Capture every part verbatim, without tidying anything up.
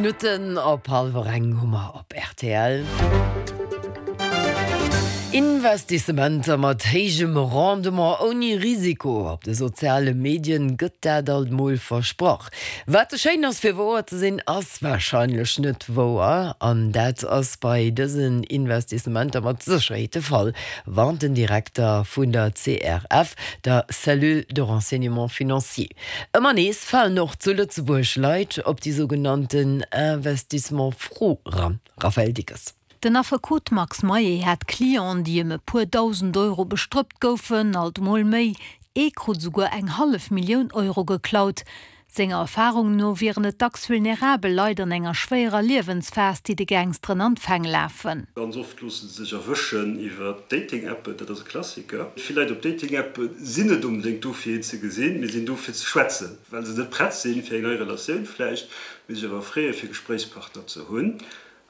Minutten op hallwer eng hu mer op R T L. Investissementer mat héijem Rendement ouni Risiko op de soziale Medien gëtt dat alt mol versprach. Wat ze schéin ass fir wouer ze sinn, ass warscheinlech net wouer, an dat ass bei dësen Investissementer mat Sécherheet de Fall, warnt den Direkter vun der C R F, der Cellule de renseignement financier. Ëmmer nees falen och zu Lëtzebuerg Leit op déi sougenannten Investissement Fraude eran. Raphaëlle Dickes. Den Affekot Max Mayer hat Clienten, déi ëm e puer dausend Euro bestrëppt goufen, alt mol méi. Ee krut souguer eng hallef Millioun Euro geklaut. Senger Erfarung no wieren et dacks vulnerabel Leit an enger schwéierer Liewensphas, déi de Gangsteren an d'Fäng lafen. Ganz oft loosse se sech erwëschen iwwer Dating-Appen, dat ass e Klassiker. Vill Leit op Dating-Appe sinn net onbedéngt do fir een ze gesinn, mee sinn do fir ze schwätzen, well se net prett sinn fir eng nei Relatioun vläicht, mee sech awer freeë fir Gespréichspartner ze hunn.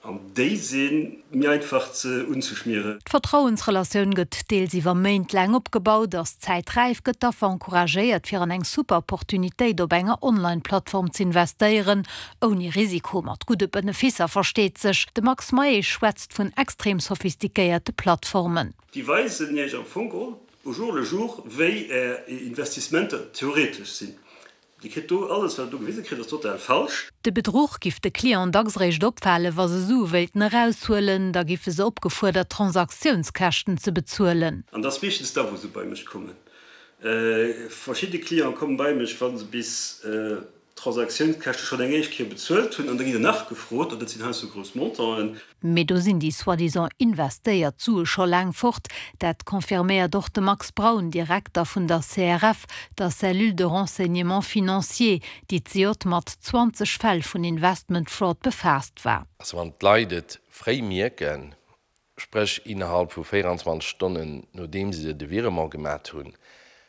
An déi si méi einfach ze unzeschmieren. D'Vertrauensrelatioun gëtt deels iwwer Méint laang opgebaut, ass d'Zäit räif, gëtt d'Affer encouragéiert, fir an eng super Opportunitéit op enger Online-Plattform ze investéieren, ouni Risiko, mat gudde Beneficer versteet sech. De Max Mayer schwätzt vun extrem sophistiquéierte Plattformen. Déi weisen Iech am Fong au jour le jour, wéi är Investissementer theoretesch sinn. Dir kritt do alles, wat do gewise kritt, ass total falsch. De Bedruch giff de Client dacks réischt opfalen, wa se Sue wéilten eraushuelen, da giffe se opgefuerdert, Transaktiounskäschten ze bezuelen. An dat ass meeschtens da wou se bei mech kommen. Verschidde Cliente komme bei mech, wa se bis d'Transaktiounskäschte schonn eng éischt Kéier bezuelt hunn, an da ginn se nach gefrot, an dat sinn heiansdo grouss Montanten. Mee do sinn déi soi-disant investéiert Sue scho laang fort. Dat confirméiert och de Max Braun, Direkter vun der C R F, der Cellule de renseignement financier, déi zejoert mat zwanzeg Fäll vun Investment Fraud befaasst war. Also wann d'Leit et fréi mierken, spréch innerhalb vu véierenzwanzeg Stonnen nodeem se de Virement gemaach hunn,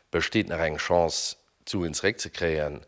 besteet nach eng Chance, d'Suen zeréckzekréien.